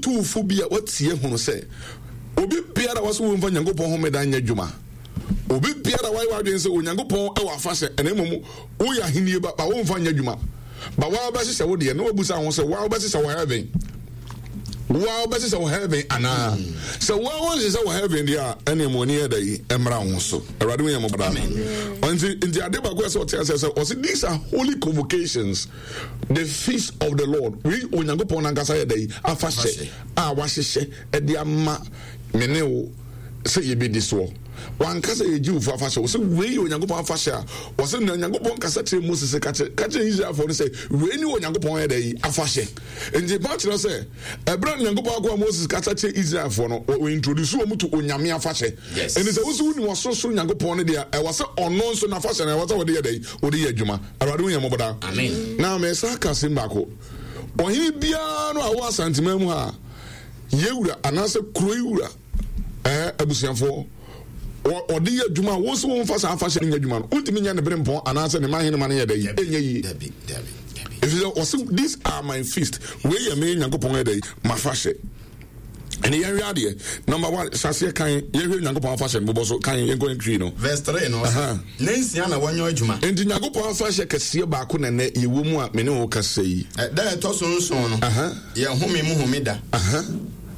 metu fo bi a watie hunu sɛ obi biara wɔsɛ wɔmfa Nyankopɔn homeda nyɛ adwuma. Obi biara wayɛ w'adwene sɛ Onyankopɔn wɔ afahyɛ ɛna mmom woyɛ ahennie ba ba womfa nyɛ adwuma. Ba waa wobɛhyehyɛ wo deɛ na wabusa ho sɛ waa wobɛhyehyɛ wɔ heaven. Waa wobɛhyehyɛ wɔ heaven anaa? Sɛ waa wonhyehyɛ wɔ heaven deɛ a ɛne mo ani yɛ da yi mmra ho so. Awurade wo yɛ mo bra. Nti nti ade baako a sɛ ɔte aseɛ sɛ ɔse these are holy convocations the feast of the Lord. Wei Onyankopɔn nankasa yɛ da yi afahyɛ a wahyehyɛ ɛde ama me ne wo sɛ yɛbɛdi soɔ. Wanka sɛ yɛ Jewfoɔ afahyɛ. Ɔsɛ wei yɛ Onyankopɔn afahyɛ a ɔsɛ na Onyankopɔn kasa kyerɛ Moses sɛ ka kyerɛ Israelfoɔ no sɛ wei ne Onyankopɔn yɛ dɛ yi afahyɛ. Nti pa kyerɛ sɛ ɛberɛ a Onyankopɔn akoa Moses kasa kyerɛ Israelfoɔ no wɔ introduce wɔn to Onyame afahyɛ. Nti sɛ wosi wonim ɔsorosoro Nyankopɔn no deɛ ɛwɔ sɛ ɔno nso n'afahyɛ no ɛwɔ sɛ wɔde yɛ dɛ yi wɔde yɛ adwuma. Awurade hu yɛn mmɔbɔ daa. Na mesa ka asɛm baako. Ɔhene biara no a ɔwɔ Asanteman mu ha a yɛwura anaasɛ kuro yi wura ɛɛ abusuafoɔ ɔde yɛ adwuma a wɔn nso wɔn fa saa afahyɛ no nyɛ adwuma no wontumi nyɛ ne bere mpɔn anaasɛ ne man hene ma no yɛ dɛ yi ɛnyɛ yie ɛfiri sɛ ɔse these are my feast wei yɛ me Nyankopɔn yɛ dɛ yi mafahyɛ ɛne yɛnhwɛ adeɛ number one saseɛ kan yɛhwɛ Nyankopɔn afahyɛ no bobɔ so kan yɛnkɔ ntwi no verse 3 no ne nsia na wɔnyɛ adwuma nti Nyankopɔn afahyɛ kɛseɛ baako na nɛ yɛwɔ mu a me ne wo kasa yi ɛda ɛtɔ so nson no yɛ home mu homeda.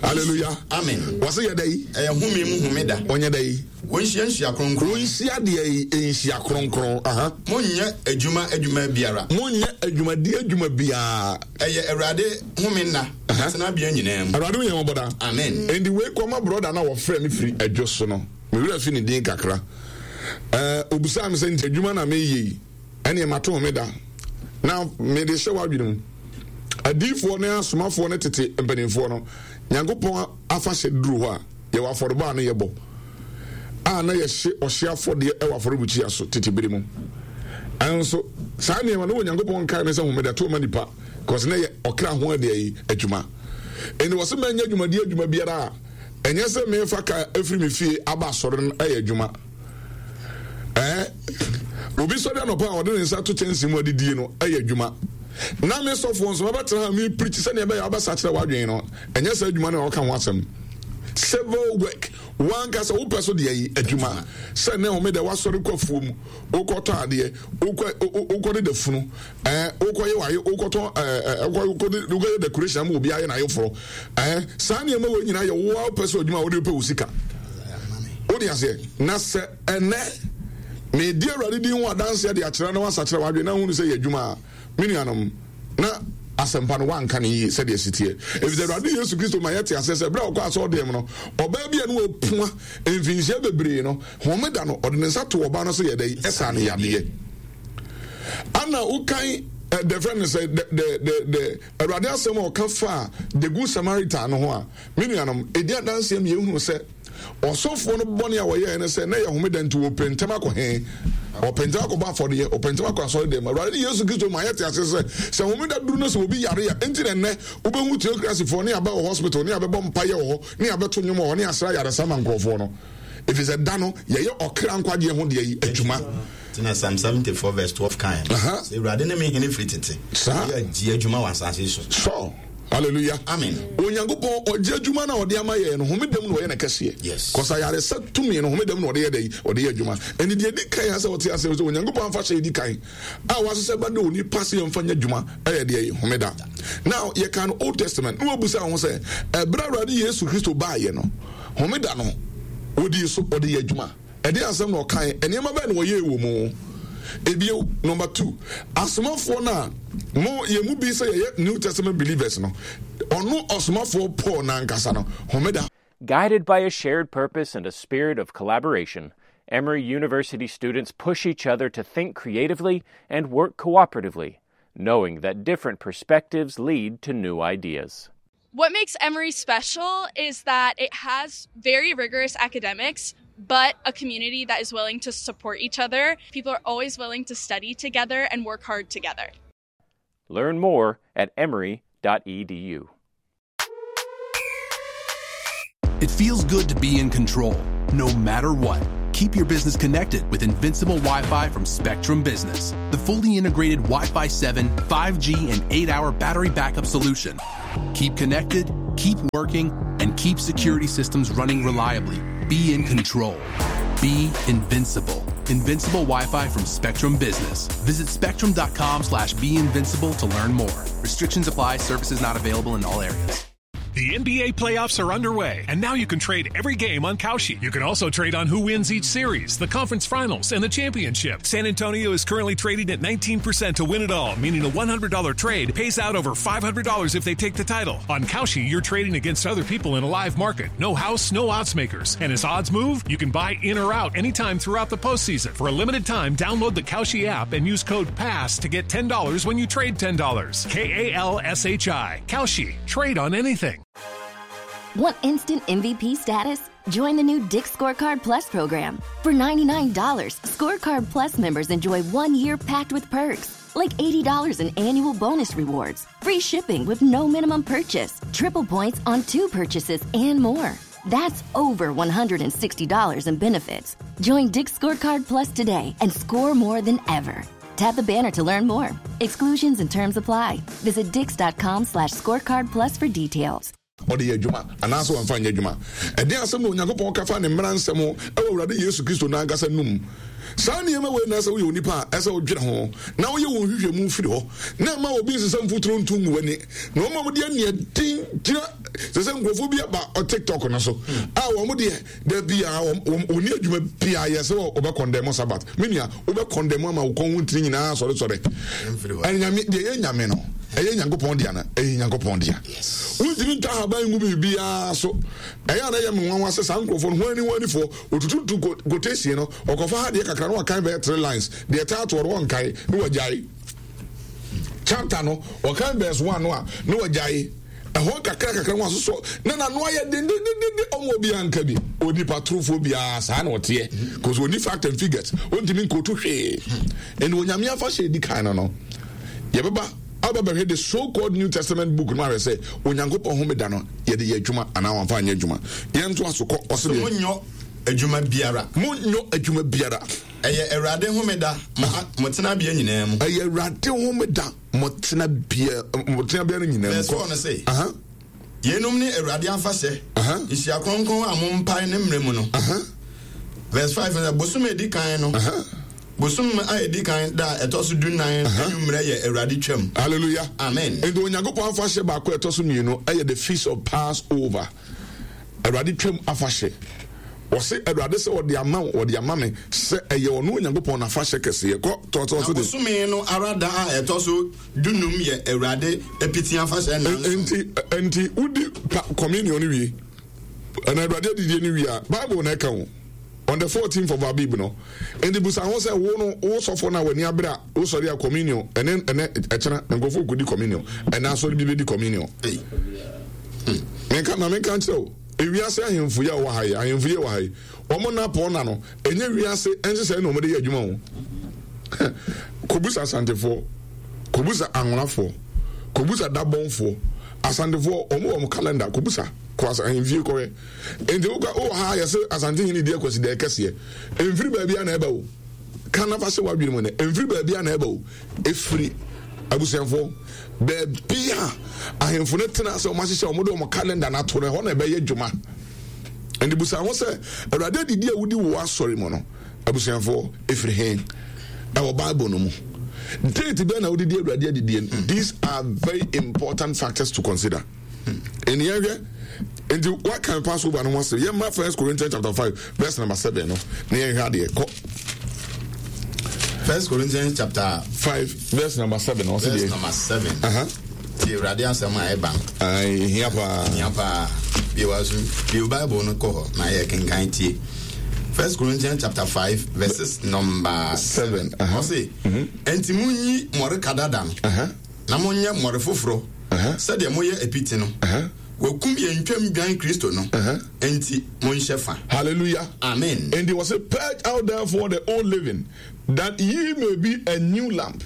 Hallelujah. Amen. Wɔsɛ yɛ dɛ yi. Ɛyɛ home mu homeda. Ɔnyɛ dɛ yi. Wɔnhyia nhyia kronkron. Wɔnhyia deɛ yi nhyia kronkron. Monyɛ adwuma adwuma biara. Monyɛ adwumadi adwuma biara. Ɛyɛ Awurade home nna. Tenabea nyinaa mu. Awurade yɛn wɔbɔ da. Amen. Nti wei kɔma brɔda na wɔfrɛ me firi adwo so no. Me werɛ fi ne din kakra. Ɛɛ obisaa me sɛ nti adwuma na meyɛ yi. Ɛneɛ mato homeda na mede hyɛ w'adwene mu. Adiyifoɔ ne asomafoɔ ne tete mpanimfoɔ no, Nyankopɔn afahyɛ duru hɔ a, yɛwɔ afɔrebɔ a ne yɛbɔ, a na yɛhye ɔhye afɔdeɛ wɔ afɔrebukyia so tete bere mu. Ɛnso saa nneɛma no wɔ Nyankopɔn nkae ne sɛ homeda to ma nipa, kɔs na yɛ ɔkra ho adeɛ yi adwuma. Ɛnti wɔ se mɛnyɛ adwumadeɛ adwuma biara a ɛnyɛ sɛ mefa ka afiri me fie aba asɔre no ɛyɛ adwuma. Ɛɛ, obi sɔre anɔpa a ɔde ne nsa to kyɛnsee mu adidie no yɛ adwuma. Na me sɔfoɔ nso mɛbɛtena ha mepreach sɛdeɛ ɛbɛyɛ a wobɛsakyera w'adwene no. Ɛnyɛ saa adwuma no a ɔka ho asɛm. Civil work, wankasa wopɛ so deɛ yi adwuma. Sɛ ne homeda wasɔre kɔ afuo mu, wokɔtɔ adeɛ, wokɔ wokɔ deda funu, ɛɛ wokɔyɛ wayɛ wokɔtɔ ɛɛ wokɔ wokɔyɛ decoration ama obi ayɛ n'ayeforɔ. Ɛɛ saa nneɛma wei nyinaa yɛ wo a wopɛ sɛ adwuma a wode pɛ wo sika. Wode aseɛ na sɛ ɛnɛ medi Awurade din ho adanseɛ de akyerɛ na wasakyerɛ w'adwene na ahunu sɛ yɛ adwuma a, me nuanom, na asɛmpa no wanka no yie sɛdeɛ ɛsi teɛ. Ɛfiri sɛ Awurade Yesu Kristo ma yɛte aseɛ sɛ berɛ a ɔkɔ asɔredan mu no, ɔbaa bi a ne wapua mfinhyia bebree no, homeda no, ɔde ne nsa too ɔbaa no so yɛ dɛn? Ɛsaa no yadeɛ. Ana wokan the friend no sɛ the the the the Awurade asɛm a ɔka faa the good Samaritan no ho a, me nuanom, ɛdi adanseɛ ma yɛhunu sɛ ɔsɔfoɔ no bɔne a wɔyɛɛ ne sɛ na ɛyɛ homeda nti wɔpɛ ntɛm akɔ he? Wɔpɛ ntɛm akɔbɔ afɔdeɛ, wɔpɛ ntɛm akɔ asɔre dɛm. Awurade ne Yesu Kristo ma yɛte ase sɛ sɛ homeda duru no sɛ obi yare a, enti na ɛnnɛ wobɛhu teokrasifoɔ ne aba wɔ hospital ne abɛbɔ mpaeɛ wɔ hɔ ne abɛto nnwom wɔ hɔ ne asra ayaresa ma nkurɔfoɔ no. Ɛfiri sɛ da no yɛyɛ ɔkra nkwagyeɛ ho deɛ yi adwuma. Nti na Psalm 74 verse 12 kae no, sɛ Awurade ne me hene firi tete, ɔyɛ agye adwuma wɔ asase so. So, hallelujah. Amen. Onyankopɔn ɔgye adwuma no a ɔde ama yɛn no, homeda mu na ɔyɛ no kɛseɛ. Yes. Kɔsa ayaresa tumi no, homeda mu na ɔde yɛ dɛ, ɔde yɛ adwuma. Ɛne deɛ ɛdi kan asɛ ɔte asɛ sɛ Onyankopɔn afahyɛ ɛdi kan a wahyehyɛ ba de onipa sɛ yɛmfa nyɛ adwuma ɛyɛ deɛ homeda. Now yɛka no Old Testament na wabusa ho sɛ ɛberɛ Awurade Yesu Kristo baayɛ no, homeda no ɔdii so ɔde yɛ adwuma. Ɛdeɛn asɛm na ɔkaeɛ? Nneɛma bɛn na ɔyɛɛ wɔ mu? Ebio, number two, asomafoɔ no a mo yɛn mu bi sɛ yɛyɛ New Testament believers no, ɔno ɔsomafoɔ Paul n'ankasa no, homeda. Guided by a shared purpose and a spirit of collaboration, Emory University students push each other to think creatively and work cooperatively, knowing that different perspectives lead to new ideas. What makes Emory special is that it has very rigorous academics, but a community that is willing to support each other. People are always willing to study together and work hard together. Learn more at emory.edu. It feels good to be in control, no matter what. Keep your business connected with Invincible Wi Fi from Spectrum Business, the fully integrated Wi Fi 7, 5G, and 8 hour battery backup solution. Keep connected, Keep working and keep security systems running reliably. Be in control. Be invincible. Invincible Wi-Fi from Spectrum Business. Visit spectrum.com slash be invincible to learn more. Restrictions apply. Services not available in all areas. The NBA playoffs are underway, and now you can trade every game on Kalshi. You can also trade on who wins each series, the conference finals, and the championship. San Antonio is currently trading at 19% to win it all, meaning a $100 trade pays out over $500 if they take the title. On Kalshi, you're trading against other people in a live market. No house, no odds makers. And as odds move, you can buy in or out anytime throughout the postseason. For a limited time, download the Kalshi app and use code PASS to get $10 when you trade $10. K A L S H I. Kalshi. Trade on anything. Want instant MVP status? Join the new Dick's Scorecard Plus program. For $99, Scorecard Plus members enjoy one year packed with perks, like $80 in annual bonus rewards, free shipping with no minimum purchase, triple points on two purchases, and more. That's over $160 in benefits. Join Dick's Scorecard Plus today and score more than ever. Tap the banner to learn more. Exclusions and terms apply. Visit dix.com slash scorecard plus for details. Ɔde yɛ adwuma anaasɛ wamfa nyɛ adwuma? Ɛdeɛn asɛm na Onyankopɔn ka fa ne mmara nsɛm ho wɔ Awurade Yesu Kristo no ankasa num? Saa nneɛma wei na ɛsɛ woyɛ onipa a ɛsɛ wodwene ho na woyɛ wo nhwehwɛmu firi hɔ na ɛma obi nsesa mfuturo nto ngu w'ani na wɔn a wɔde aniɛden gyina sɛ sɛ nkurɔfoɔ bi aba TikTok no so a wɔn deɛ Da biara wɔn wɔn wɔnni adwuma biara yɛ sɛ wɔbɛ kɔndɛm sabat. Me nua, wobɛ kɔndɛm ama wo kɔn ho ntini nyinaa sɔresɔre. Ɛne nyame deɛ ɛyɛ nyame no, ɛyɛ Nyankopɔn dea no, ɛyɛ Nyankopɔn dea. Wontumi ntwa ahaban ngu biribiara so. Ɛyɛ a na ɛyɛ me nwanwa sɛ saa nkurɔfoɔ no, hwan ni hwan nifoɔ, wɔtututu quotation no, ɔkɔfa ha deɛ kakra na wakan bɛyɛ three lines, deɛ ɛtaa toɔ no wɔnkae na wagyae. Chapter no, wɔkan verse one no a na wagyae. Ɛhɔ nkakra kakra ho asosɔ na n'ano ayɛ dendendenden ɔmo obiara nka bi. Onipa torofoɔ biara saa na ɔteɛ cause ɔni fact and figures ɔntumi nkoto hwee. Ɛnna Onyame afahyɛ edi kan no no yɛbɛba aba bɛhwɛ the so called New Testament book no ahwɛ sɛ Onyankopɔn homeda no yɛde yɛ adwuma anaa wɔamfa anyɛ adwuma. Yɛnto aso kɔ ɔse deɛ. Monyɔ adwuma biara. Monyɔ adwuma biara. Ɛyɛ Awurade homeda mo tenabea nyinaa mu. Ɛyɛ Awurade homeda. Mo tenabea, mo tenabea no nyinaa mu. Verse 4 no se, Yeinom ne Awurade afahyɛ, nhyia kronkron a mompae ne mmerɛ mu no. Verse 5 no sɛ, Bosome a ɛdi kan no, bosome a ɛdi kan da a ɛtɔ so dunnan anwummerɛ yɛ Awurade twam. Hallelujah. Amen. Nti Onyankopɔn afahyɛ baako a ɛtɔ so mmienu ɛyɛ the feast of Passover. Awurade twam afahyɛ. Ɔse Awurade sɛ ɔde ama wo, ɔde ama me sɛ ɛyɛ ɔno Onyankopɔn n'afahyɛ kɛseɛ. Kɔ, toatoa so de. Na bosome no ara da a ɛtɔ so dunum yɛ Awurade apiti afahyɛ nnanson. Enti, enti wodi pa, communion no wie, anaa Awurade adidie no wie a, Bible na ɛka o, on the 14th of Abib no. Enti busa ho sɛ, wo no, wo sɔfo no a w'ani abere a wosɔre a communion, ɛne, ɛnɛ, ɛkyena, nkurɔfoɔ kɔdi communion, ɛnɛ asɔre bi bɛdi communion. Menka, ma menka nkyerɛ wo. Ewiase ahemfo yi a wɔwɔ ha yi, ahemfo yi a wɔwɔ ha yi, wɔn nnapɔnna no, ɛnyɛ wiase nhyehyɛe na wɔde yɛ adwuma o. Kɔbusa Asantefoɔ, kɔbusa Anwonafoɔ, kɔbusa Dabɔnfoɔ, Asantefoɔ, wɔn wɔ wɔn calendar, kɔbusa, kɔ asa ahemfie kɔhwɛ. Nti wokɔ wowɔ ha yɛsɛ Asante hene di akwasidae kɛseɛ. Ɛmfiri baabi a na ɛba o. Ka na fa hyɛ w'adwene mu nɛ, ɛmfiri baabi a na ɛba o. Ɛfiri abusuafoɔ baabi a ahemfo no tena sɛ wɔahyehyɛ wɔn de wɔn calendar no ato no ɛhɔ na ɛbɛyɛ dwuma. Ɛnti busa ho sɛ Awurade adidi a wodi wɔ asɔre mu no abusuafoɔ ɛfiri he? Ɛwɔ Bible no mu. Date bɛn na wode di Awurade adidie no? These are very important factors to consider. Ɛni yɛhwɛ nti wakan Passover no ho asɛm yɛmma First Corinthians chapter 5 verse number 7 no na yɛnhwɛ adeɛ kɔ. First Corinthians chapter 5 verse number 7 ɔsɛ deɛ. Verse number 7. Uh-huh. Ti Awurade asɛm a ɛba no. Ɛhia paa. Ɛhia paa. Bie wa so bie Bible no kɔ hɔ na yɛ kenkan tie. First Corinthians chapter 5 verses number 7. Ɔse, Enti munyi mmɔreka dada no. Uh-huh. Na monyɛ mmɔre foforɔ sɛdeɛ moyɛ apiti no. Wɔakum yɛn Twam dwan Kristo no, enti monhyɛ fa. Hallelujah. Amen. Enti wɔse, Purge out therefore the old leaven, that ye may be a new lump,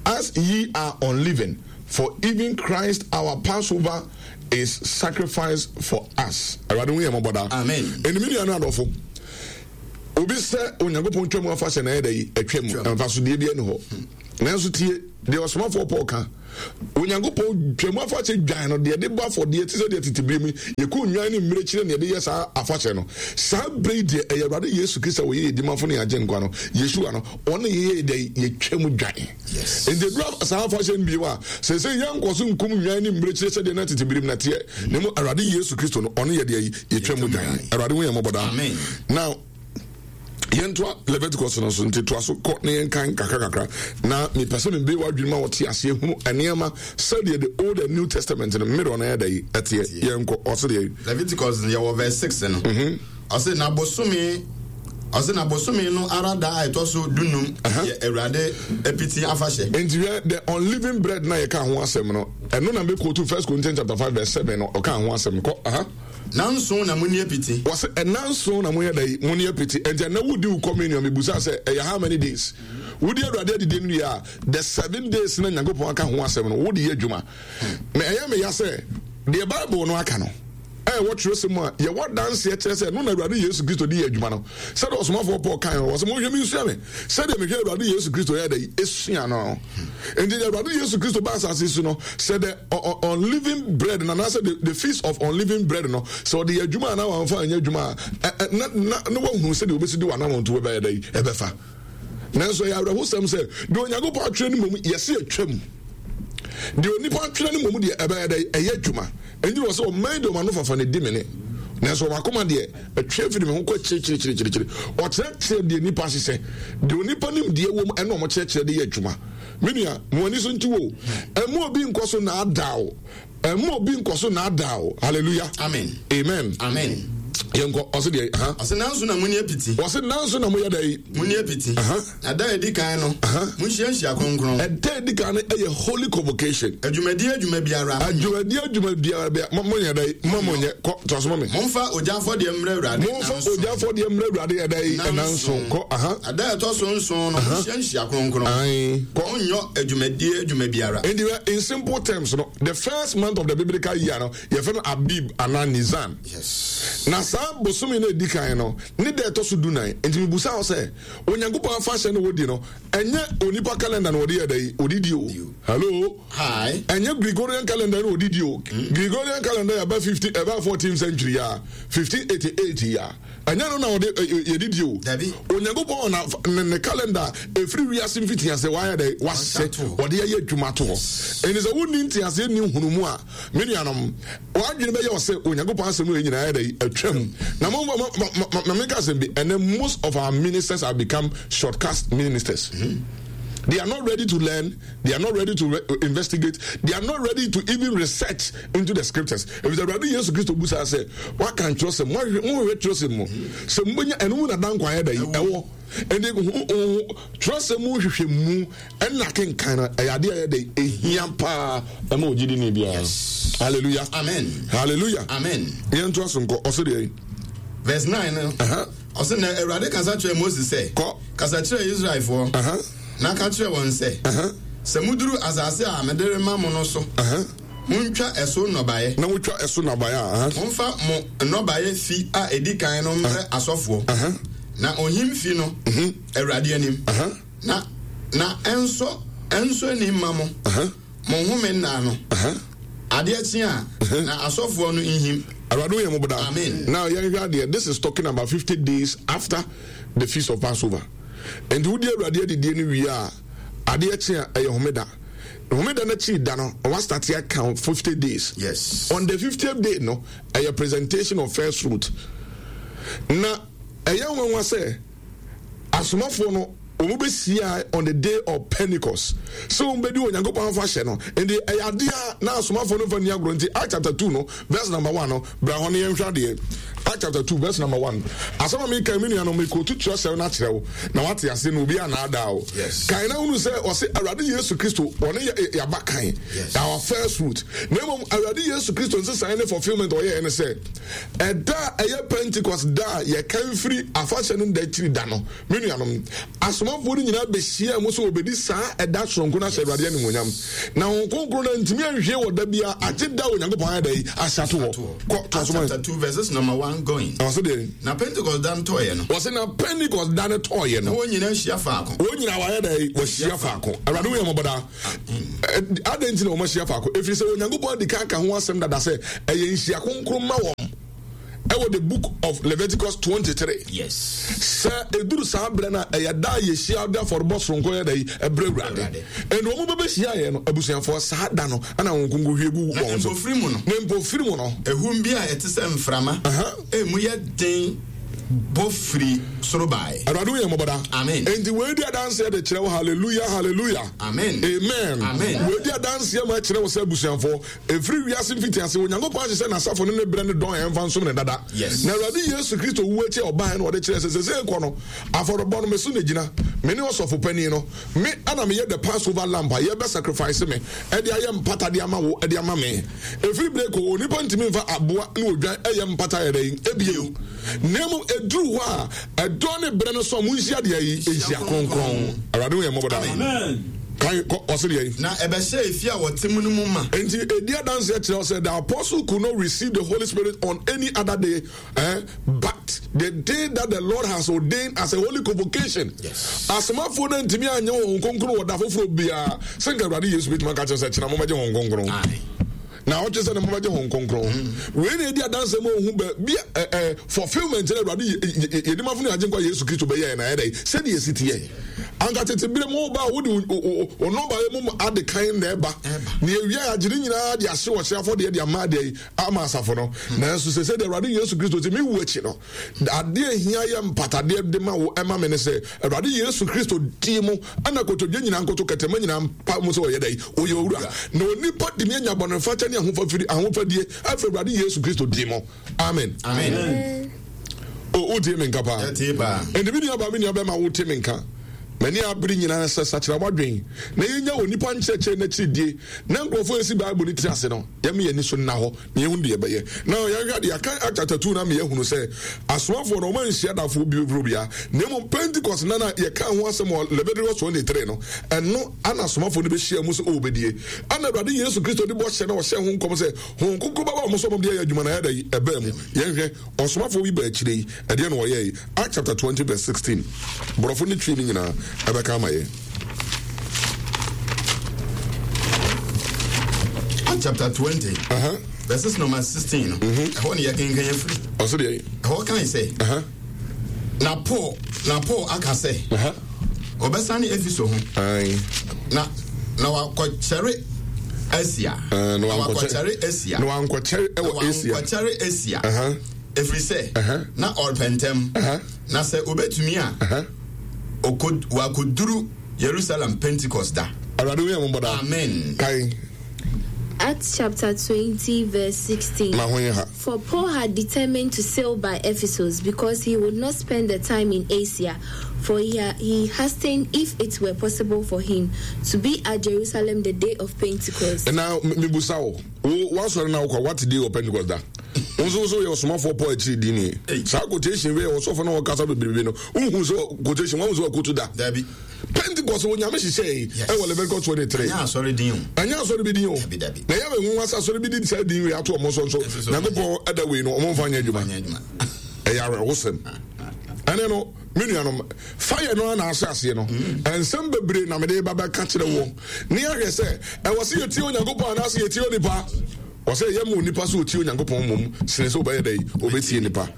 as ye are unleavened, for even Christ our Passover is sacrificed for us. Awurade hu yɛn mmɔbɔ daa. Amen. Enti me nuanom adɔfo, obi sɛ Onyankopɔn twam afahyɛ na ɛyɛ dɛ yi, atwam, mfasodeɛ bi ani hɔ. Nanso tie deɛ ɔsomafoɔ Paul ka, Onyankopɔn Twam Afahyɛ dwan no, deɛ yɛde bɔ afɔdeɛ te sɛ deɛ tete berɛ mu yɛku nnwan ne mmirekyire na yɛde yɛ saa afahyɛ no, saa berɛ yi deɛ ɛyɛ Awurade Yesu Kristo a ɔyɛ yɛn Dimafo ne yɛn Agyenkwa no, Yeshua no, ɔno na yɛyɛ dɛn? Yɛtwam dwan. Enti ɛduru saa afahyɛ no bio a, seesei yɛnkɔ so nkum nnwan ne mmirekyire sɛdeɛ na tete berɛ mu no teɛ, na mmom Awurade Yesu Kristo no, ɔno yɛ deɛ yɛtwam dwan. Awurade hu yɛn mmɔbɔ daa. Now, yɛntoa Leviticus no so nti toa so kɔ na yɛnkan kakra kakra na mepɛ sɛ mebue w'adwene ma wɔte aseɛ hunu nneɛma sɛdeɛ the old and new testament no mmerɛ no ɛda yi ɛteɛ. Yɛnkɔ ɔse deɛ Leviticus yɛwɔ verse 6 no. Ɔse na bosome ɔse na bosome no ara da a ɛtɔ so dunum yɛ Awurade apiti afahyɛ. Nti hwɛ the unleavened bread na yɛka ho asɛm no, ɛno na mɛkɔtu First Corinthians chapter 5 verse 7 no ɔka ho asɛm kɔ. Aha. Nanson na monni apiti. Wɔse ɛnanson na monyɛ dɛn? Monni apiti. Enti ɛnɛ wodi wo communion, mebusa sɛ ɛyɛ how many days? Wodi Awurade adidie no wie a, the 7 days na Nyankopɔn aka ho asɛm no, wode yɛ adwuma. Me ɛyɛ me ya sɛ deɛ Bible no aka no ɛwɔ twerɛsɛm mu a yɛwɔ adanseɛ kyerɛ sɛ ɛno na Awurade Yesu Kristo de yɛ adwuma no. Sɛdeɛ ɔsomafoɔ Paul kae no, ɔsɛ monhwɛ me nsua me sɛdeɛ mehwɛ Awurade Yesu Kristo yɛ dɛn esua no. Enti deɛ Awurade Yesu Kristo ba asase so no, sɛ the unleavened bread no anaasɛ the feast of unleavened bread no, sɛ ɔde yɛ adwuma anaa wamfa anyɛ adwuma a, na na na wahunu sɛdeɛ wɔbɛsi de w'anammɔnto bɛyɛ dɛn ɛbɛfa. Nanso ɛyɛ awerɛhosɛm sɛ deɛ Onyankopɔn atwerɛ no mmom yɛse atwam. Deɛ onipa atwerɛ no mmom deɛ ɛbɛyɛ dɛn ɛyɛ adwuma. Enti wɔ sɛ ɔman de wɔn ano fafa na ɛdi me ne, nanso wɔn akoma deɛ ɛtwe firi me ho kɔ akyirikyirikyirikyiri. Ɔkyerɛkyerɛ deɛ nipa hyehyɛ, deɛ onipa nimdeɛ wɔ mu ɛna wɔkyerɛkyerɛ de yɛ adwuma. Me nua, mo ani so nti wo. Ɛmma obi nkɔ so naadaa wo. Ɛmma obi nkɔ so naadaa wo. Hallelujah. Amen. Amen. Amen. Yɛnkɔ, ɔse deɛ, ha. Ɔse nanso na moni apiti. Ɔse nanso na moyɛ dɛ. Moni apiti. Na da a edi kan no, monhyia nhyia kronkron. Ɛda a edi kan no yɛ holy convocation. Adwumadie adwuma biara. Adwumadie adwuma biara bia mo monyɛ dɛ, mo monyɛ kɔ to aso ma me. Momfa ogya afɔdeɛ mmrɛ Awurade Momfa ogya afɔdeɛ mmrɛ Awurade ɛda yi ɛnanson kɔ aha. Na da a ɛtɔ so nson no, monhyia nhyia kronkron. Ae kɔ. Monnyɔ adwumadie adwuma biara. Enti in simple terms no, the first month of the biblical year no, yɛfrɛ no Abib anaa Nisan. Yes. Na saa bosome no a edi kan no, ne da a ɛtɔ so dunan. Enti mibusa wo sɛ, Onyankopɔn afahyɛ no wɔdi no, ɛnyɛ onipa calendar na wɔde yɛ dɛ yi, wɔde di o. Hello? Hi. Ɛnyɛ Gregorian calendar na wɔde di o. Gregorian calendar yɛ ɛba 50, ɛba 14th century ya, 1588 ya. Ɛnyɛ no na wɔde yɛde di o. Dabi. Onyankopɔn na ne, ne calendar ɛfiri wiase mfitiaseɛ wayɛ dɛ, wahyɛ, wɔde ayɛ adwuma to hɔ. Ɛnti sɛ wonni nteaseɛ nni nhunumu a, Me nuanom, w'adwene bɛyɛ wo sɛ Onyankopɔn asɛm wei nyinaa yɛ dɛ atwam. Na mo ma ma ma menka asɛm bi, ɛnɛ most of our ministers have become shortcut ministers. They are not ready to learn, they are not ready to investigate, they are not ready to even research into the scriptures. Efisɛ Awurade Yesu Kristo busaa sɛ, waka nkyerɛsɛm, mohwehwɛ kyerɛsɛm mu sɛ mobɛnya ɛno mu na dankwa ayɛ dɛ ɛwɔ. Ɛnti kyerɛsɛm mu hwehwɛ mu Ɛna kenkan no ɛyɛ adeɛ a ɛyɛ dɛ ehia paa ɛma ogyidini biara. Hallelujah. Amen. Hallelujah. Amen. Yɛn to aso nkɔ ɔsɛ deɛ. Verse 9 no. Ɔsɛ na Awurade kasa kyerɛ Moses sɛ. Kɔ. Kasa kyerɛ Israelfoɔ. Na ka kyerɛ wɔn sɛ. Sɛ muduru asase a mede rema mo no so. Montwa ɛso nnɔbaeɛ. Na motwa ɛso nnɔbaeɛ a. Momfa mo nnɔbaeɛ fi a edi kan no mmrɛ asɔfoɔ. Na ohim fi no Awurade anim. Na na ɛnsɔ ɛnsɔ ani mma mo, mo home nna no. Adeɛ kye a, na asɔfoɔ no nhim. Awurade wo yɛ mmɔbɔ daa. Amen. Now yɛnhwɛ adeɛ, this is talking about 50 days after the feast of Passover. Nti wodi Awurade adidie no wie a, adeɛ kye a ɛyɛ homeda. Homeda no akyiri da no, wɔastate aka 50 days. Yes. On the 50th day no, ɛyɛ presentation of first fruit. Na ɛyɛ nwanwa sɛ Asomafoɔ no, wɔn bɛhyiae on the day of Pentecost sɛ wɔn bɛdi Onyankopɔn afahyɛ no. Nti ɛyɛ adeɛ a na asomafoɔ no mfa nni agorɔ. Nti Acts chapter 2 no verse number 1 no, bra hɔ no yɛnhwɛ adeɛ. Acts chapter 2 verse number 1. Asɛm a meka me nuanom, mekɔtu twerɛsɛm no akyerɛ wo na wate aseɛ na obi anaadaa wo. Kan na hunu sɛ ɔse Awurade Yesu Kristo ɔne yɛaba kan, our first fruit. Na mmom Awurade Yesu Kristo nsesaeɛ ne fulfillment ɔyɛɛ ne sɛ Ɛda a ɛyɛ Pentekoste da a yɛkan firi afahyɛ no nda akyiri da no, me nuanom, asomafoɔ no nyinaa bɛhyiaa mu sɛ wɔbɛdi saa ɛda soronko no ahyɛ Awurade animuonyam. Na Honhom Kronkron no antumi anhwie wɔ da biara agye da a Onyankopɔn ayɛ da yi ahyɛ ato hɔ. Kɔ, toa so ma Acts chapter 2 verses number 1. one going. Ɔse deɛ. Na Pentecost da no tɔɔeɛ no. Ɔse na Pentecost da no tɔɔeɛ no. Na wɔn nyinaa ahyia faako. Wɔn nyinaa wɔayɛ dɛ wɔahyia faako. Awurade wo yɛ mmɔbɔ daa. Adɛn nti na wɔn ahyia faako? Ɛfiri sɛ Onyankopɔn adi kan ka ho asɛm dada sɛ ɛyɛ nhyia kronkron ma wɔn ɛwɔ the book of Leviticus 23. Yes. Sɛ ɛduru saa berɛ no a ɛyɛ da a yɛhyia de afɔrebɔ soronko yɛ dɛ yi ɛbrɛ Awurade. Ɛnna wɔn bɛbɛhyia yɛ no abusuafoɔ saa da no ɛna wɔn nkonko hwie gu wɔn so. Na mpofiri mu no. Na mpofiri mu no. Ehum bi a ɛte sɛ mframa. Emu yɛ den bɔ firi soro bae. Awurade hu yɛn mmɔbɔ daa. Amen. Enti wei di adanseɛ de kyerɛ wo hallelujah hallelujah. Amen. Amen. Amen. Wei di adanseɛ ma ɛkyerɛ wo sɛ abusuafoɔ ɛfiri wiase mfitiase Onyankopɔn ahyehyɛ n'asafo ne ne berɛ ne dɔn a ɛmfa nsom ne dada. Yes. Na Awurade Yesu Kristo wu akyi a ɔbaeɛ no ɔde kyerɛ sɛ sɛsɛ kɔ no afɔrebɔ no me so na gyina me ne ɔsɔfo panin no me ana meyɛ the Passover lamb a yɛbɛ sacrifice me ɛde ayɛ mpata de ama wo ɛde ama me. Ɛfiri berɛ kɔ onipa ntumi mfa aboa ne odwan ɛyɛ mpata yɛ dɛn ebio na mmom ɛduru hɔ a ɛdɔ ne berɛ no so a monhyia deɛ yi nhyia kronkron. Awurade hu yɛn mmɔbɔ daa. Kan kɔ ɔse deɛ yi. Na ɛbɛhyɛɛ efie a wɔte mu no mu ma. Enti ɛdi adanseɛ kyerɛ sɛ the apostle could not receive the Holy Spirit on any other day eh, but the day that the Lord has ordained as a holy convocation. Yes. Asomafoɔ no ntumi anyɛ wɔn kronkron wɔ da foforɔ biara sɛ nka Awurade Yesu bɛtumi aka kyerɛ sɛ kyena momɛgye wɔn kronkron. Na ɔkyerɛ sɛ ne momɛgye wɔn kronkron. Mm. Wei na ɛdi adanseɛ ma ɔhu bɛ bi ɛ ɛ fulfillment na Awurade yɛdimafo ne agyenkwa Yesu Kristo bɛyɛɛ na ɛyɛ dɛ sɛdeɛ ɛsi teɛ. Anka tete bere mu woba a wode wo nnɔbaeɛ mu ade kan na ɛba. Na ewia agye ne nyinaa de ahye ɔhye afɔdeɛ de ama adeɛ yi ama asafo no. Nanso sɛ sɛdeɛ Awurade Yesu Kristo te me wu akyi no, adeɛ ehia yɛ mpatadeɛ de ma wo ɛma me ne sɛ Awurade Yesu Kristo di mu ɛna kotodwe nyinaa nkoto kɛtɛma nyinaa mpa mu sɛ ɔyɛ dɛ ɔyɛ owura na onipa de mi anya bɔnefakyɛ ne ahofafiri ahofadie afiri Awurade Yesu Kristo di mu. Amen. Amen. O wotie me nka paa. Ɛnti me nua baa me nua bɛma wote me nka. M'ani abere nyinaa sɛ sakyera w'adwen na yɛnya onipa nkyerɛkyerɛ n'akyiridie na nkurɔfoɔ esi Bible no tiri ase no yɛma yɛn ani so nna hɔ na yɛhu deɛ yɛbɛyɛ. Na yɛnhwɛ adeɛ yɛaka Act chapter 2 no ama yɛahunu sɛ asomafoɔ no wɔn anhyia dafoɔ bi boro bia na mmom Pentecost nna no a yɛkaa ho asɛm wɔ Leviticus 23 no ɛno ana asomafoɔ no bɛhyia mu sɛ ɔrebɛdie ana Awurade Yesu Kristo de bɔhyɛ na ɔhyɛ ho nkɔm sɛ Honhom Kronkron bɛba wɔn so wɔn de ayɛ adwuma na ayɛ dɛ ɛbaa mu. Yɛnhwɛ ɔsomafoɔ bi baa akyire yi ɛdeɛ na ɔyɛe Act chapter 20 verse 16 borɔfo ne twi no nyinaa ɛbɛka ama yɛn. Act chapter 20 uh -huh. verses number 16 no mm-hmm. ɛhɔ ne yɛkenkan afiri. Ɔso deɛ. Ɛhɔ kan sɛ. Uh -huh. Na Paul na Paul aka sɛ. Uh -huh. Ɔbɛsane Efeso ho. Na na wakɔkyɛre Asia. Na wakɔkyɛre Asia. Na wankɔkyɛre ɛwɔ Asia. Na wankɔkyɛre Asia. Ɛfiri sɛ na ɔrepɛ ntɛm. Na sɛ obetumi a wakɔduru Yerusalem Pentecost da. Awurade wo yɛ mo bɔda. Amen. Kan. Acts chapter 20 verse 16. Ma ho yɛ ha. For Paul had determined to sail by Ephesus because he would not spend the time in Asia, for he, he hastened, if it were possible for him, to be at Jerusalem the day of Pentecost. Na mibusa wo, wo wasɔre na wokɔ what day of Pentecost da? Wo nso so yɛ ɔsomafoɔ Paul akyiri di ni. Saa quotation wei ɔsɔfo na ɔkasa bebrebe no, wohu sɛ quotation wɔn nso wakotu da. Dabi. Pentecost wɔ nyame hyehyɛ yi ɛwɔ Leviticus 23. Ɛnyɛ asɔre din o. Ɛnyɛ asɔre bi din o. Dabi dabi. Na ɛyɛ wɔ nwonwa sɛ asɔre bi di saa din wei ato ɔmo so nso Nyankopɔn ɛda wei no ɔmo nfa nyɛ adwuma. Ɛyɛ awerɛhosɛm. Ɛne no me nuanom fire no ana ahyɛ aseɛ no mm. nsɛm bebree na mede ba bɛka kyerɛ wɔ ne ahwɛ sɛ ɛwɔ sɛ yɛtie Onyankopɔn anaasɛ yɛtie onipa. Ɔsɛ ɛyɛ ma onipa sɛ ɔtie Onyankopɔn mmom sene sɛ ɔbɛyɛ dɛ ɔbɛtie nipa.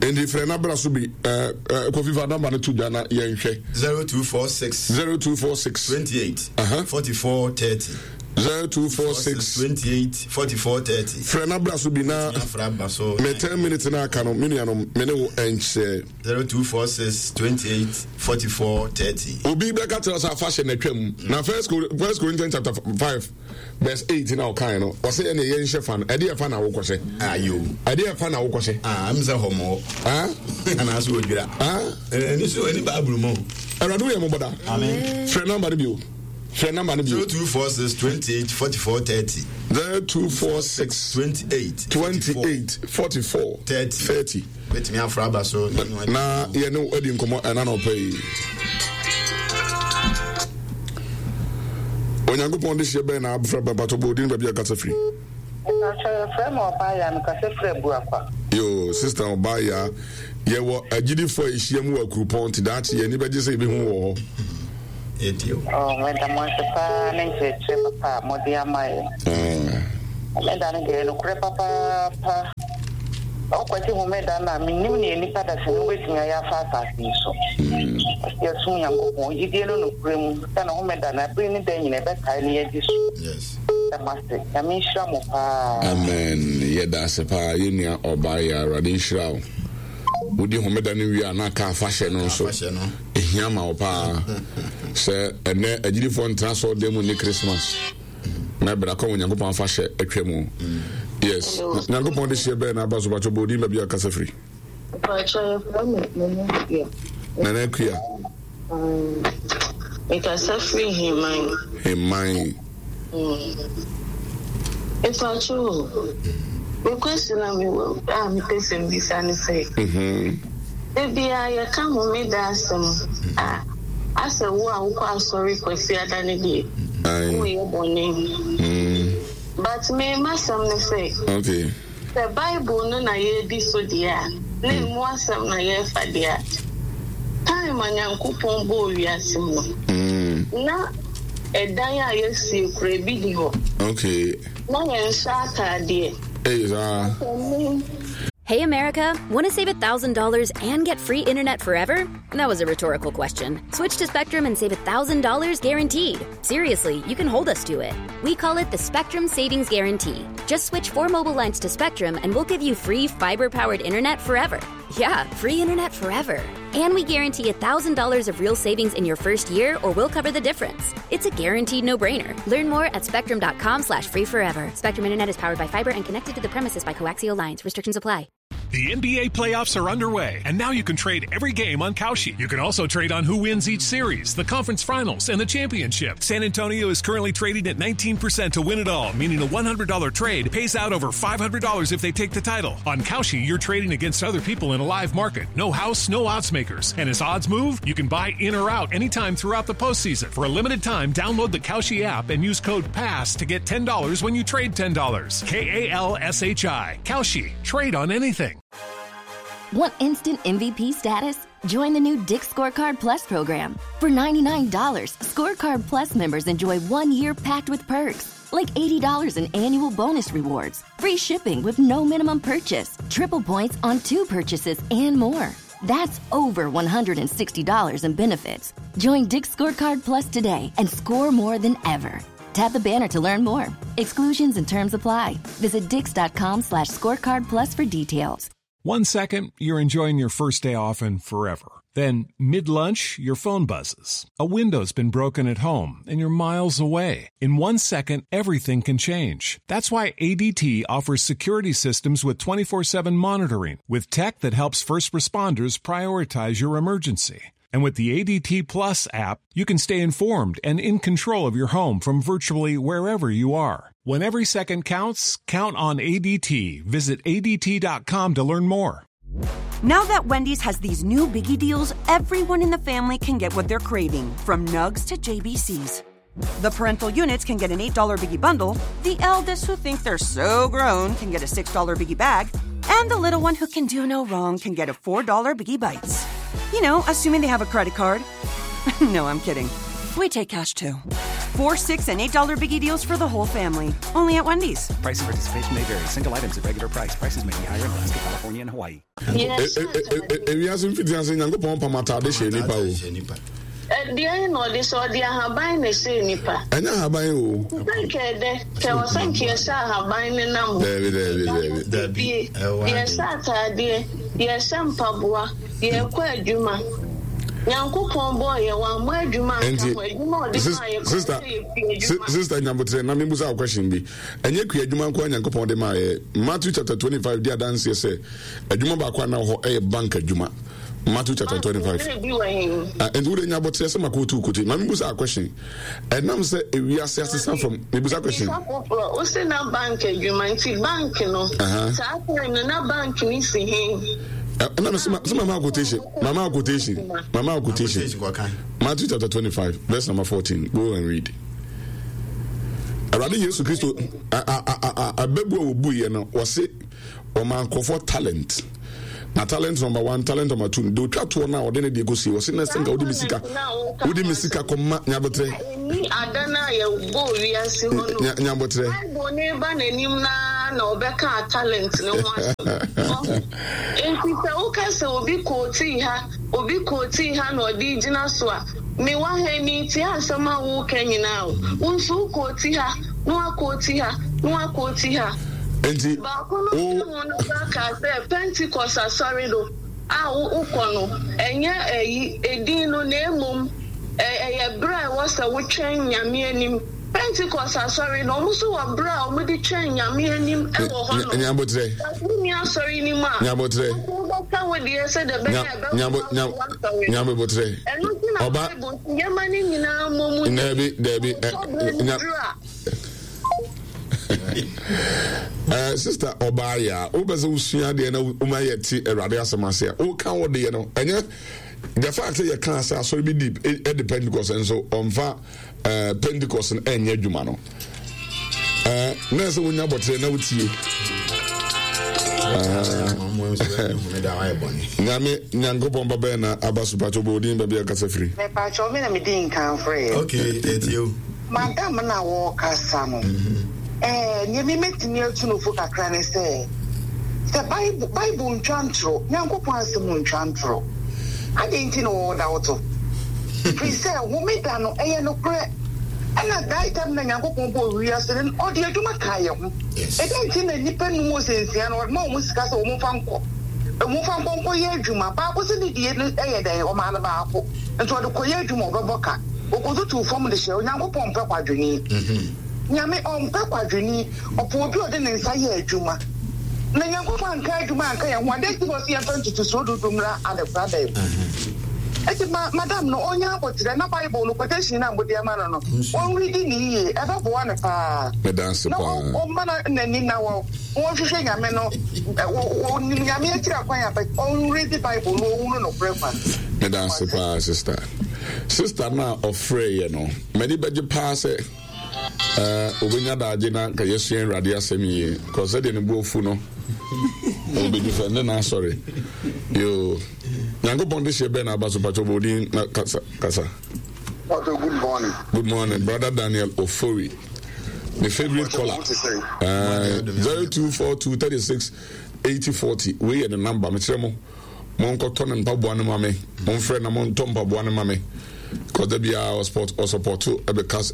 Enti frɛ na bra so bi. Ɛɛ eh, Kofi fa namba no to dwa na yɛnhwɛ. 0246. 0246. 28. Uh -huh. 44 30. 0246. 28 44 30. Frɛ na bra so bi na. Me 10 minutes na aka no me nuanom me ne wo ɛnkyɛ. 0246 28 44 30. Obi bɛka kyerɛ sɛ afahyɛ na atwam na first Corinthians chapter 5. Verse 8 na ɔkae no, ɔsɛ yɛ ne yɛ nhyɛ fa no. Ɛde ɛfa na wokɔhyɛ. Ayo. Ɛde ɛfa na wokɔhyɛ. Ah, am sɛ hɔmɔ. Ah. Anaasɛ odwira. Ah. Ɛni so ɛni Bible mu. Awurade woyɛ mmɔbɔ da. Amen. Frɛ namba no bio. Frɛ namba no bio. 0246 28 44 30. 0246 28 28 44 30. 30. Bɛtumi afra aba so. Na yɛne wo adi nkɔmmɔ ɛna na ɔpɛ yi. Onyankopɔn de hyeɛ bɛn na abfra bɛn patɔ bɔ odin baabi a kasa firi. Mpakyɛ yɛfrɛ me ɔbaa ya mekasa firi Abuakwa. Yo, sister ɔbaa ya, yɛwɔ agyidifoɔ a yɛhyia mu wɔ Akurupɔn nti daakye yɛn ani bɛgye sɛ yɛbɛhu wɔ hɔ. Oh, meda mo ase paa ne nkyerɛkyerɛ papa a mode ama yɛn. Homeda no deɛ nokorɛ papaapa. Wokwati homeda no a, mennim nea nnipa dasani wobɛtumi ayɛ afa asase yi so. Ɔsɛ yɛsom Nyankopɔn gyidie no nokorɛ mu sɛ ne homeda no abere ne da nyina ɛbɛkae ne yɛadi so. Meda mo ase. Nyame nhyira mo paa. Amen yɛda ase paa yɛn nua ɔbaa yɛ awurade nhyira wo wodi homeda no wie a na aka afahyɛ no nso ehia ma wo paa sɛ ɛnɛ agyidifoɔ ntena sɔɔ dan mu ne Christmas na ɛbɛda kɔ Onyankopɔn afahyɛ atwa mu yes Nyankopɔn de hyeɛ bɛɛ na aba so bakyɛ bɔ odin baabi a kasa firi. Mpakyɛ yɛfrɛ me Nana Akua. Nana Akua. Mekasa firi Heman. Heman. Mpakyɛ o, me question a mewɔ a mepɛ sɛ mbisa ne sɛ, da biara yɛka homeda asɛm a, asɛ wo a wokɔ asɔre Kwasiada no deɛ, woyɛ bɔne. But me m'asɛm ne sɛ, Sɛ Bible no na yɛredi so deɛ a, na emu asɛm na yɛrefa deɛ a, time a Nyankopɔn bɔɔ wiase mu no, na ɛdan a yɛasie koraa ebi nni hɔ. Okay. Na yɛnhyɛ ataadeɛ. Ei saa. Hey America, want to save $1,000 and get free internet forever? That was a rhetorical question. Switch to Spectrum and save $1,000 guaranteed. Seriously, you can hold us to it. We call it the Spectrum Savings Guarantee. Just switch four mobile lines to Spectrum and we'll give you free fiber powered internet forever. Yeah, free internet forever. And we guarantee $1,000 of real savings in your first year or we'll cover the difference. It's a guaranteed no-brainer. Learn more at spectrum.com slash free forever. Spectrum Internet is powered by fiber and connected to the premises by coaxial lines. Restrictions apply. The NBA playoffs are underway, and now you can trade every game on Kalshi. You can also trade on who wins each series, the conference finals, and the championship. San Antonio is currently trading at 19% to win it all, meaning a $100 trade pays out over $500 if they take the title. On Kalshi, you're trading against other people in a live market. No house, no odds makers. And as odds move, you can buy in or out anytime throughout the postseason. For a limited time, download the Kalshi app and use code PASS to get $10 when you trade $10. K A L S H I. Kalshi. Trade on anything. Want instant MVP status? Join the new Dick's Scorecard Plus program. For $99, Scorecard Plus members enjoy one year packed with perks, like $80 in annual bonus rewards, free shipping with no minimum purchase, triple points on two purchases, and more. That's over $160 in benefits. Join Dick's Scorecard Plus today and score more than ever. Tap the banner to learn more. Exclusions and terms apply. Visit dix.com slash scorecard plus for details. One second, you're enjoying your first day off and forever. Then, mid lunch, your phone buzzes. A window's been broken at home and you're miles away. In one second, everything can change. That's why ADT offers security systems with 24 7 monitoring, with tech that helps first responders prioritize your emergency. And with the ADT Plus app, you can stay informed and in control of your home from virtually wherever you are. When every second counts, count on ADT. Visit ADT.com to learn more. Now that Wendy's has these new biggie deals, everyone in the family can get what they're craving, from nugs to JBCs. The parental units can get an $8 biggie bundle, the eldest who think they're so grown can get a $6 biggie bag, and the little one who can do no wrong can get a $4 biggie bites. You know, assuming they have a credit card. no, I'm kidding. We take cash too. 4 $6 and $8 biggie deals for the whole family. Only at Wendy's. Price and participation may vary. Single items at regular price. Prices may be higher in Alaska, California, and Hawaii. Ewiase mfitiase Nyankopɔn pam atade hyɛ nipa o. Ɛdeɛn na ɔde sɛ ɔde ahaban na ɛhyɛɛ nipa? Ɛnyɛ ahaban o. Sɛ nka ɛdɛ, kɛ wɔ sɛ nka yɛhyɛ ahaban ne nam hɔ. Daabi daabi daabi. Daabi. Yɛhyɛ ataadeɛ, yɛhyɛ mpaboa, yɛkɔ adwuma. Nyankopɔn bɔɔ yɛ wammɔ adwuma anka ho, adwuma ɔde maa yɛ kora sɛ yɛkua adwuma. Sister Nyabotrɛ, na membusa wo question bi. Ɛnyɛ kua adwuma nko a Nyankopɔn de maa yɛ. Matthew chapter 25 di adanseɛ sɛ adwuma baako a na wɔ hɔ ɛyɛ bank adwuma. Matthew chapter 25. Ah, nti wode nya abɔteɛ sɛ mako tu kote. Ma mebusa a question. Ɛnam sɛ ewiase asesa from mebusa question. Wo se na bank adwuma nti bank no. Saa time no na bank ni si he. Ɛna me sɛ mama quotation. Mama quotation. Mama quotation. Matthew chapter 25 verse number 14. Go and read. Awurade Yesu Kristo abɛbu a wɔbuiɛ no wɔse. Ɔmaa nkurɔfoɔ talent. Na talent number one, talent number two, deɛ ɔtwa toɔ no a ɔde ne deɛ kɔsie, ɔse na sɛ nka wode me sika, wode me sika kɔma nyabotrɛ. Ɛnni ada no a yɛbɔɔ wiase hɔ no. Nyabotrɛ. Bible no ba n'anim no ara na ɔbɛkaa talent no ho asɛm. Ɔho? Enti sɛ woka sɛ obi kootii ha, obi kootii ha na ɔde regyina so a, mewɔ ha yi, meretie asɛm a woreka nyinaa o. Wo nso wokooti ha, na woakooti ha, na woakooti ha. Enti, Baako no wo. ka ho no koraa kaa sɛ Pentecost asɔre no a wokɔ no, ɛnyɛ ayi, edin no, na mmom ɛyɛ bere a ɛwɔ sɛ wotwɛn Nyame anim. Pentecost asɔre no, wɔn nso wɔ bere a wɔde twɛn Nyame anim wɔ hɔ nom. Nyabotrɛ. But wonni asɔre no mu a, Nyabotrɛ. wobɛka wo deɛ sɛdeɛ ɛbɛyɛ a ɛbɛboa wo w'asɔre no. Nyabotrɛ. Ɛno nti na Ɔba. Bible se yɛma ne nyinaa mmɔ mu. Dabi, dabi. Ɔtɔ bere no duru a. Eh, sister ɔbaa yɛ a wopɛ sɛ wosua adeɛ na woma yɛte awurade asɛm ase a woka wo deɛ no ɛnyɛ the fact sɛ yɛka sɛ asɔre bi di ɛde pentecost nso ɔmfa eh, pentecost no ɛnyɛ adwuma no eh, na ɛsɛ wonya bɔterɛ na wotie nyame nyankopɔn ba bɛyɛ na aba so pakyɛ wobɛ odin baabi akasa firi mepaakyɛ me na medi nkan frɛ okay ɛtie o Madam no a wɔrekasa no, ɛɛ, nea me mɛtumi atu no fo kakra ne sɛ, sɛ Bible, Bible ntwa ntoro, Nyankopɔn asɛm ntwa ntoro. Adɛn nti na wɔda wo to? Firi sɛ homeda no, ɛyɛ nokorɛ. Ɛna that time na Nyankopɔn bɔɔ wiase no, ɔde adwuma kaa yɛn ho. Ɛdɛn nti na nnipa num ɔsɛ nsia no, ɔde ma wɔn sika sɛ wɔn mfa nkɔ, wɔn mfa nkɔ nkɔyɛ adwuma. Baako sɛ ne deɛ no yɛ dɛn, ɔmaa no baako. Nti ɔde kɔyɛ adwuma, ɔbɛbɔ ka. Okotutuu fam de hyɛɛ Onyankopɔn mpɛ kwadwoni. Nyame ɔmpɛ kwadwoni, ɔpɛ obi a ɔde ne nsa yɛ adwuma. Na Nyankopɔn anka adwuma anka yɛn ho a, dɛn nti na ɔse yɛmfa ntotosoɔ dudu mmra adekoradan mu? Enti ma madam no ɔnya aboterɛ na Bible no quotation no a mode ama no no, ɔnredi no yie, ɛbɛboa no paa. Meda ase Na paa. ɔmma n'ani nna hɔ. Wɔnhwehwɛ Nyame no, wɔnim Nyame akyiri akwan a, but ɔnredi Bible no, ɔnhunu nokorɛ kwan. Meda ase paa sister. Sister no a ɔfrɛ yɛ no, m'ani bɛgye paa sɛ obɛnya daagye na nka yɛsua Awurade asɛm yie. Kɔ sɛdeɛ ne bo afu no, ɔbɛdi fɛ ne n'asɔre. Yoo, Nyankopɔn de hyɛ bɛn na aba so patwɔ bɔ odin na kasa kasa. Pastor, good morning. Good morning, brother Daniel Ofori. My favorite caller. 0242 36 80 40. Wei yɛ ne number. Mekyerɛ mo. Monkɔtɔ ne mpaboa no ma me. Momfrɛ na montɔ mpaboa no ma me. Cause da biara ɔsport ɔsupporto ɛbɛka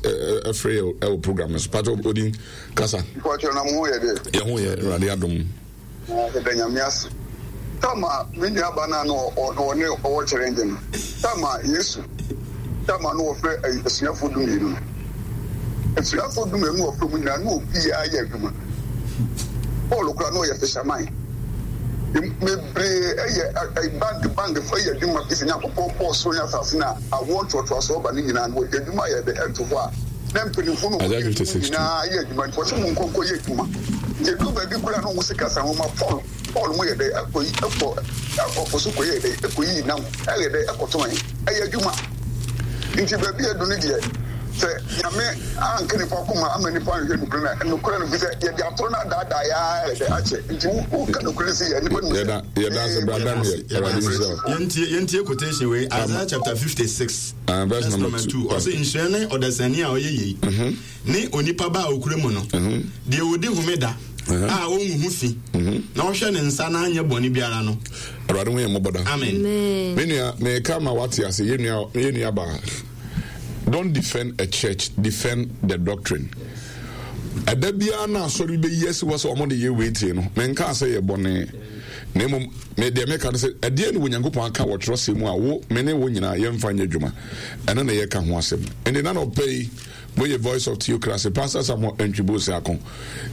ɛfrɛ yɛ ɛwɔ program no so. Pastor Odin kasa. Pastor na mo ho yɛ dɛ. Yɛ ho yɛ Awurade adom. Yɛda Nyame ase. Tam a me nua ba no a na ɔne ɔwɔ challenge no, tam a Yesu, tam a na wɔfrɛ asuafoɔ dumienu no, asuafoɔ dumienu na wɔfrɛ mu nyinaa na obiara yɛ adwuma. Paul koraa na ɔyɛ fisherman. Bebree yɛ bank bank fo yɛ adwuma fi sɛ Nyankopɔn bɔɔ soro ne asase no a awoɔ ntoatoasoɔ ba no nyinaa no wɔde adwuma yɛ dɛ ɛto hɔ a na mpanyimfo no wɔyɛ adwuma nyinaa yɛ adwuma nti wɔsɛ mo nkɔ nkɔyɛ adwuma. Nti ɛduru baabi koraa na wɔn sika sa wɔn ma Paul Paul mo yɛ dɛ ɛkɔ yi ɛkɔ ɛkɔ po so kɔ yɛ dɛ ɛkɔ yi nam ɛyɛ dɛ ɛkɔtɔn ɛyɛ adwuma. Nti baabi a ɛdu no deɛ sɛ Nyame anka nipa koma ama nipa anhwɛ nokorɛ no a nokorɛ no fisɛ yɛde atoro no adaadaa yɛ ara yɛ dɛ akyɛ nti wo ka nokorɛ no sɛ yɛ nipa no mu sɛ Yɛda ase bra Daniel Awurade nhyira wo. Yɛntie yɛntie quotation wei Isaiah chapter 56 uh, verse number 2. Ɔsɛ nhyira ne ɔdasani a ɔyɛ yei mhm. ne onipa ba a okura mu no mhm. deɛ ɔdi homeda mhm. a ɔngu ho fi na ɔhwɛ ne nsa na anyɛ bɔne biara no. Awurade ho yɛ mmɔbɔ da. Amen. Me nua meka ma wate ase yɛ nua yɛ nua baa. Don't defend a church, defend the doctrine. Ɛda biara na asɔre bi bɛyi asi hɔ sɛ wɔn de yɛ wei tie no, menkaa sɛ yɛ bɔne. Na mmom, me deɛ meka no sɛ, ɛdeɛ ne Onyankopɔn aka wɔ twerɛsɛm mu a wo, me ne wo nyinaa yɛmfa nyɛ adwuma. Ɛno na yɛka ho asɛm. Ɛnde na nɔpɛ yi, moyɛ Voice of Theocracy, Pastor Samuel Antwi Boasiako.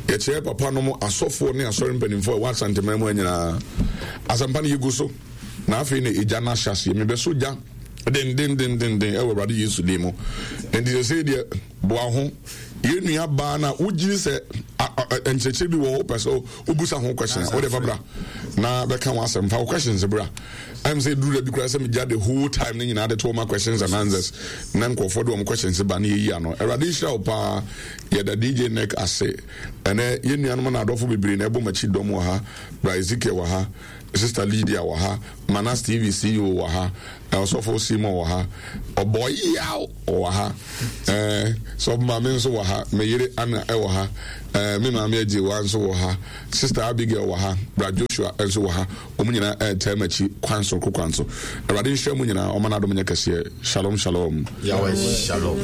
Yɛkyerɛ papa nom asɔfoɔ ne asɔre mpanimfoɔ a ɛwɔ Asanteman mu ha nyinaa. Asɛmpa no yɛgu so. Na afei na egya no ahyɛ aseɛ. Mebɛsɔ gya dendendendenden ɛwɔ Awurade Yesu din mu. Enti sɛsei deɛ, boa ho. Yɛn nua baa no a wogyiri sɛ. Nkyerɛkyerɛ bi wɔ hɔ wopɛ sɛ wobusa ho question a, wode fa bra na bɛka ho asɛm. Fa wo questions bra. Ɛm sɛ ɛduru da bi koraa sɛ megya the whole time no nyinaa de to ma questions and answers na nkurɔfoɔ de wɔn questions ba na yɛyi ano. Awurade nhyira wo paa. Yɛda DJ Nick ase. Ɛnɛ yɛn nuanom na adɔfo bebree na ɛbɔ m'akyi dɔm wɔ ha. Bra Ezekiel wɔ ha. Sister Lydia wɔ ha. Manas TV CEO wɔ ha. Ɔsɔfo Simon wɔ ha. Ɔbɔyaw wɔ ha. Ɛɛ sɔfo maame nso wɔ ha. Me yere Anna wɔ ha. Ɛɛ me maame Agyewa nso wɔ ha. Sister Abigail wɔ ha. Bra Joshua nso wɔ ha. Wɔn nyinaa ɛretaa m'akyi kwan soronko kwan so. Awurade nhyira mo nyinaa. Ɔma n'adom nyɛ kɛseɛ. Shalom shalom. Yahweh shalom.